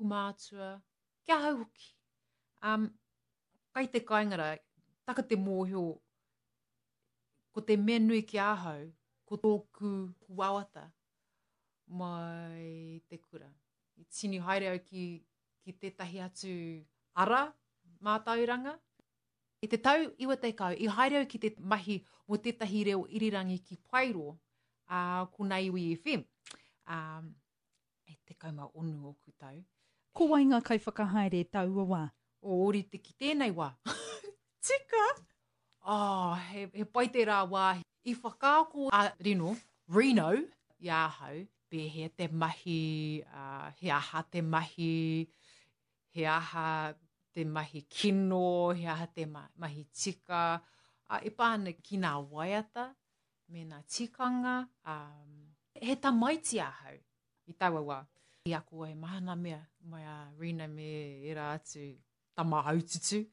ōku mātua, ki ahau hoki. Um, kai te kāinga rā, taka te mōhio, ko te mea nui ki ahau, ko tōku wawata mai te kura. I tini haere au ki, ki tētahi atu ara mātauranga. I te tau 90, i haere au ki te mahi mō tētahi reo irirangi ki Paeroa, ā, ko Naiwi FM. Ā, e 16 ōku tau. Ko wai ngā kaiwhakahaere taua wā? O ōrite ki tēnei wā. Tika! Oh, he, he pai tērā wāhi. I whakaako a Rino, Rino, i ahau, pēhea te mahi, uh, he aha te mahi, he aha te mahi kino, he aha te ma mahi tika, uh, e pā ana ki ngā waiata me ngā tikanga. Um, he tamaiti ahau i taua wā. I ako ai maha ngā mea mai a Rina me ērā atu tama haututu.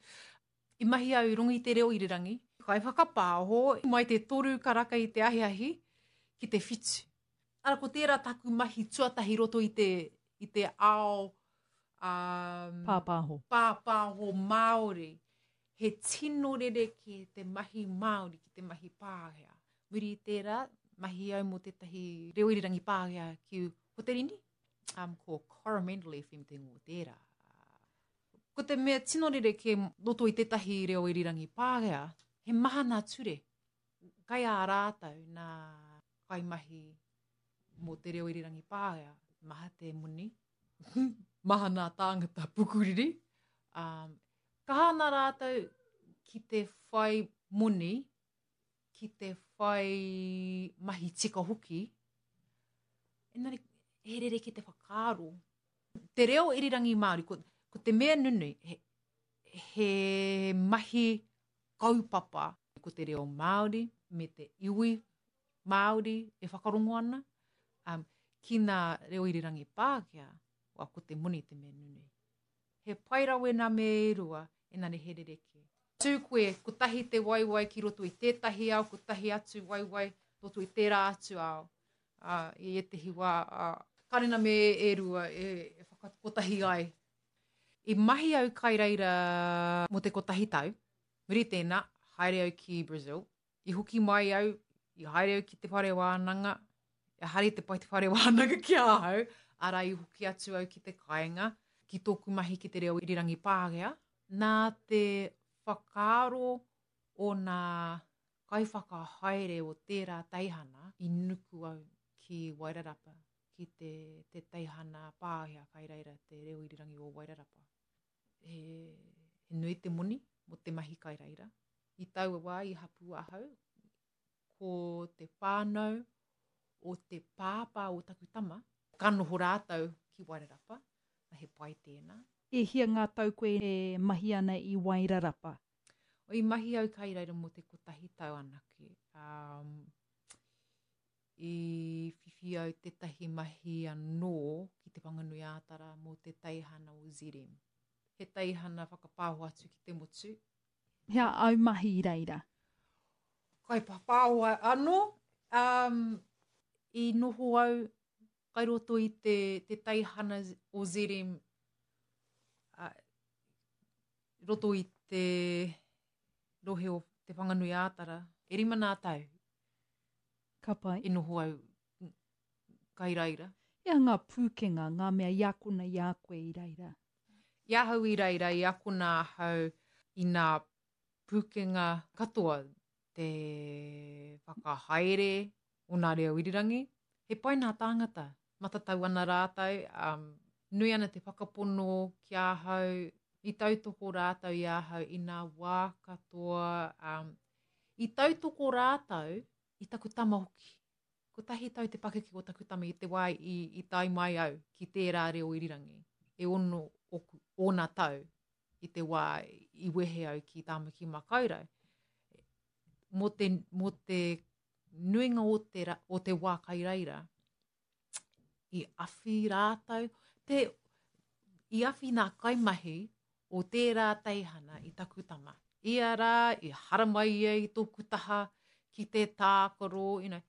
I mahi au i runga i te reo irirangi, kaiwhakapāho mai te toru karaka i te ahiahi ki te whitu. Ara ko tērā taku mahi tuatahi roto i te, i te ao um, pāpāho. pāpāho Māori. He tino rerekē te mahi Māori ki te mahi Pākehā. Muri i tērā, mahi au mō tētahi reo irirangi Pākehā ki Hoterini, um, ko Coromandel FM te ingoa o tērā. Ko te mea tino rerekē roto i tētahi reo irirangi Pākehā, he maha nā ture. Kai a rātou nā kaimahi mō te reo irirangi Pākehā, maha te moni, maha nā tāngata pukuriri. Um, kaha ana rātou ki te whai moni, ki te whai mahi tika hoki, engari he rerekē te whakaaro. Te reo irirangi Māori, ko, ko te mea nunui, he, he mahi kaupapa ko te reo Māori me te iwi Māori e whakarongo ana, um, ki ngā reo irirangi Pākehā, wa, ko te moni te mea nunui. He pai rawe nā me e rua, engari he rerekē. Tū koe, kotahi te waewae ki roto i tētahi ao, kotahi atu waewae roto i tērā atu ao. Ā, i ētehi wā, ā, kāre nā me e rua e, e whakakotahi ai. I mahi au kai reira mō te kotahi tau, muri tēnā, haere au ki Brazil, I hoki mai au, i haere au ki te whare wānanga, ehara i te pai te whare wānanga ki ahau, arā i hoki atu au ki te kāinga, ki tōku mahi ki te reo irirangi Pākehā, nā te whakaaro o nā kaiwhakahaere o tērā teihana i nuku au ki Wairarapa, ki te, te teihana Pākehā kai reira te reo irirangi o Wairarapa. He, he nui te moni mō te mahi kai reira. I taua wā i hapū ahau, ko te whānau o te pāpā o taku tama, ka noho rātou ki Wairarapa, he pai tēnā. E hia ngā tau koe e mahi ana i Wairarapa? I mahi au kai reira mō te kotahi tau anake. Um, I whiwhi au tētahi mahi anō ki Te Whanganui-ā-Tara mō te teihana o ZM. He teihana whakapāho atu ki te motu. He aha āu mahi i reira? Kaipapāho anō. Um, I noho au kai roto i te, te teihana o ZM uh, roto i te rohe o Te Whanganui-ā-Tara. E rima nā tau. Ka pai. I noho au kai reira. He aha ngā pūkenga, ngā mea i akona i a koe i reira? I ahau i reira, i akona ahau i nā pūkenga katoa, te whakahaere o nā reo irirangi. He pai nā tāngata, matatau ana rātou, um, nui ana te whakapono ki ahau, i tautoko rātou i ahau i nā wā katoa, um, i tautoko rātou i taku tama hoki. Kotahi tau te pakeke o taku tama i te wā i, i tae mai au ki tērā reo irirangi. E ono oku, ōna tau i te wā i wehe au ki Tāmaki Makaurau. Mō te, mō te nuinga o te, o te wā kai reira, i awhi rātou, te, i awhi nā kaimahi o tērā teihana i taku tama. Ia rā, i haramai ia i tōku taha ki te tākaro, you know,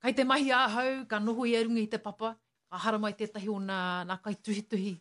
kai te mahi ahau, ka noho ia runga i te papa, ka haramai tētahi o nā, nā kaituhituhi.